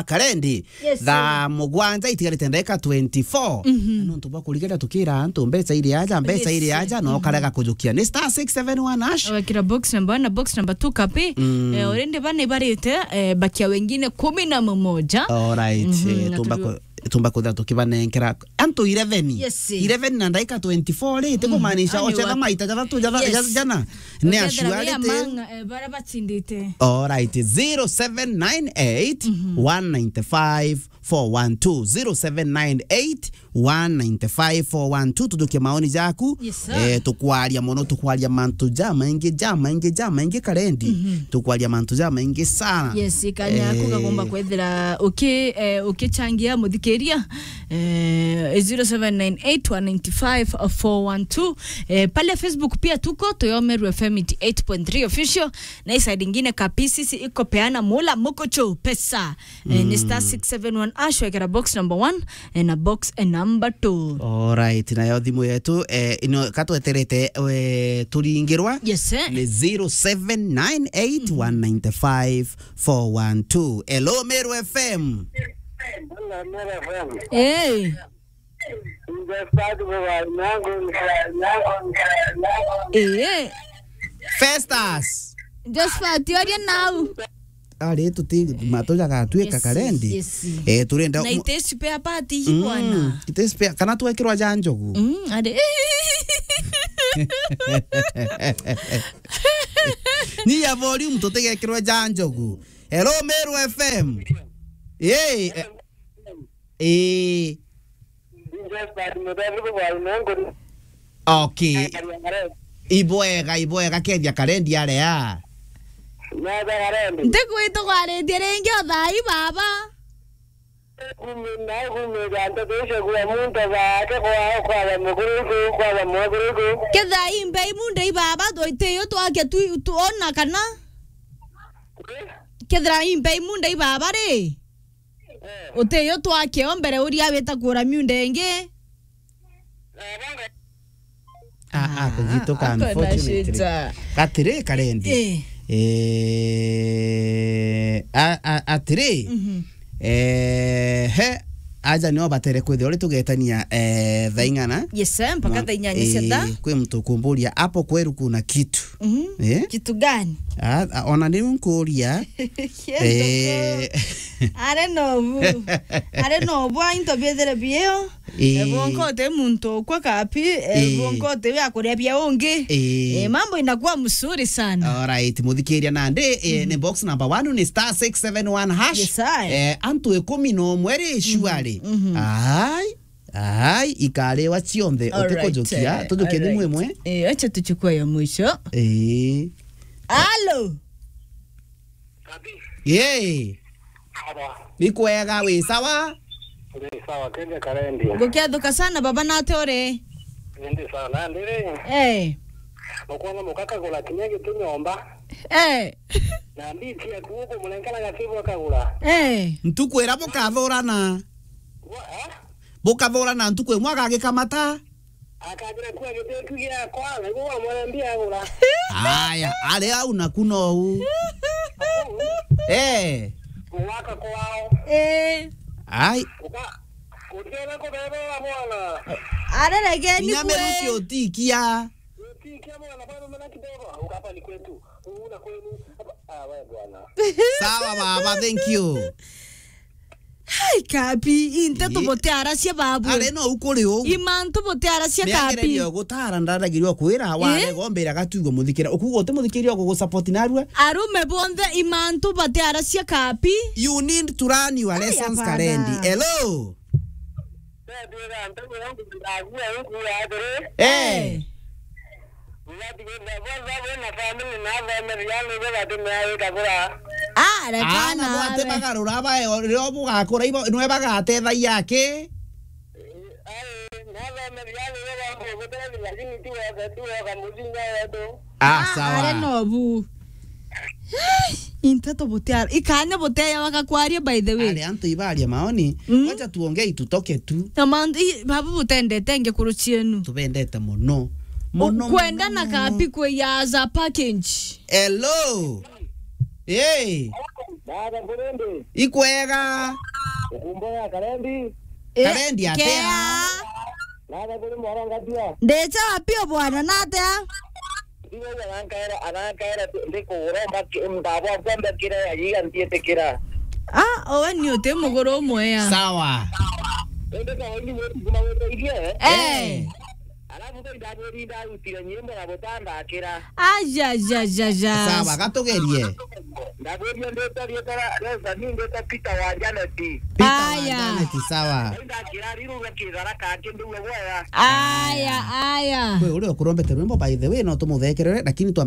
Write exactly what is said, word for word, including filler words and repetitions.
Karendi. Yes, thaa mugwanja itigarite ndagika twenty-four. Mhm. Na nontu bwa kurigeria tukira antu mbeca iri aja, mbeca iri aja, no karega kujukia. Ni star six seven one hash. Wekira box number one na box number two kapi. Mm. Eh, already bana ibarite, eh, bakia wengine kumi na mmoja. All right, mhm, eh, na tumba turi- ku-, tumba kutha tukibanenkera antu eleven. Yes. Eleven na ndagika twenty-four ri, ti kumaanisha ocetha maita jathatu jatha-, yes, jana. Ni actuality. Among, eh, bara bachindite. All right, zero seven nine eight, one nine five, four one two, zero seven nine eight, one nine five, four one two. Tujukie maoni jaku. Yes, sir. Eh, tukwaria mono, tukwaria mantu jamaingi, jamaingi, jamaingi, Karendi. Mhm. Tukwaria mantu jamaingi sana. Yes, ikanya yaku, eh, kagomba kwethira uki-, eh, ukichangia muthikiria. Eh, zero seven nine eight, one nine five, four one two. Eh, pale Facebook pia tuko, tuyo Meru F M eighty-eight point three official. Na hii side ingine ka P C C iko peana mula mukuchu pesa. Eh, ni star six seven one hash, wekera box number one, eh, na box, eh, number two. All right, nayo thimu yetu, eh, ino katweterete, eh, turingirwa. Yes, eh. Ni zero seven nine eight, one nine five, four one two. Hello, Meru F M. Hello, Meru F M. Hey. Josephat, Festus. Josephat, oria nau. Ari tuti matu jagaatwika, yes, Karendi. Yes, yes. Eh, turenda na mu- ite spare part hii, mm, bwana. Ite spare, kana twekirwa ja njogu. Mm, ari. Ni ya volume tutigekirwe ja njogu. Hello, Meru F M. Hey, eh, Ii. Okay. Ibwega, ibwega, kethia Karendi aria. Ntigwitugwaritie ringi o thaa ii, baba. Kumina, kumina, nteto icio kwa muntu bake kwa, kwa mukuru iku, kwa mukuru iku. Kethira imbei munde ibaba, twitiyo twake tu, tuona kana. Kethira imbei munde ibaba ri. Eh. Utiyo twakeo mbere uria wita kura miunda ingi. Ah, ah, kujituka, ah, unfortunately. Shida. Atiri, Karendi. Eh. Eh, a, a, atiri. Mhm. Eh, he, aja nio batere kwithirwa uri tugetania, eh, thaa ing'ana. Yes, sir, mpaka thaa inyanya cia thaa. Eh, kwi muntu kumburia, hapo kweru kuna kitu. Mhm. Eh? Kitu gani? Ah, ah, ona niu nkuria. Kiendoka. Eh. Are nobu. Are nobu, into biethere bio. Eh. Eh, bonka uti muntu ukwa kapi, eh, eh, bonka uti ya kuria bia ungi. Eh. Eh, mambo inakuwa mzuri sana. All right, muthikiria nandi, eh, mhm, ni box number one ni star six seven one hash. Yes, I. Eh, antu ikumi na umwe ri, mhm, shuari. Mhm. Ai. Ai, ikariwa cionthe, all right, utikujukia, eh, tujukie thimu imwe. Eh, acha tuchukue ya mwisho. Eh. Alo. Yee. Sawa. Ni kwega, wi sawa? Wi sawa, kende Karendi. Ngukethuka sana baba, nate uri? Ndi sawa, na ndiri. Eh. Ukwona mukaka kagura kinya gitu nyomba. Eh. Na mbiti ya kuuku munenkana gatibu akagura. Eh. Ntuku ira bukathurana. Wa, eh? Bukathurana ntuku imwe agagikamata. Akajira kuwa gitetu giakwa, niguo wamwambia agura. Aya, ari au naku nou. Eh. Gwaka kwao. Eh. Ai. Uka-, utiona kubebera mwana. Arerege ni inya kwe. Miruki utikia. Utikia mwana, bado mwana kidogo. Ukapa ni kwetu. Una kwenu. Ah, we bwana. Sawa baba, thank you. Hai, kapi, inte tubote aracia babu. Are no ukuri u. Imantu bote aracia kapi. Niagereria gutara, ndaragiria kwira, eh? Warega umbira gatugo muthikira. Ukuga uti muthikira gugu support narua. Arume bonthe imantu bote aracia kapi. You need to run your lessons, hapana. Karendi. Hello. Eh. Ah, rekana. Ana bwate bagarura bae, rio bugakura ibo, nwe bagatethagia aki? Ah, sawa. Are nobu. Ai, into tubutiara. Ikanya buteya wakakwaria, by the way. Ari antu ibaria maoni. Mm. Wacha tuongee tutoke tu. Na mantu, i, babu butendete nge kuru cienu. Tubendete muno. Muno, kwenda muno, na muno. Kapi kwiya as a package. Hello. Ii. Baba Burundi. Ikwega. Ukumbo ya Kalendi. Eh, Kalendi atia? Kea. Baba Burundi mwarangatia. Ndicha pio bwana, natia? Ndiwe arankaera, arankaera ndikugura mbaki, mbaba kwamba kira ya yiga ntietikira. Ah, owe ni uti muguru umwe ya. Sawa. Ende kawaini wetu kuma weteithie. Eh. Eh. Alafu tho ndabwiri ndarutire nyimbo na butandakira. Ajajajaja. Sawa, gatugerie. Ndabwiri ndeta rieta resa ni ndeta Peter wa Janet. Peter wa Aya. Janet, sawa. Ndakira riru gakithara kake nduwe bwega. Aya, aya. Kwi uria ukurombete rwimbo, by the way, no tumuthekerere, lakini twambe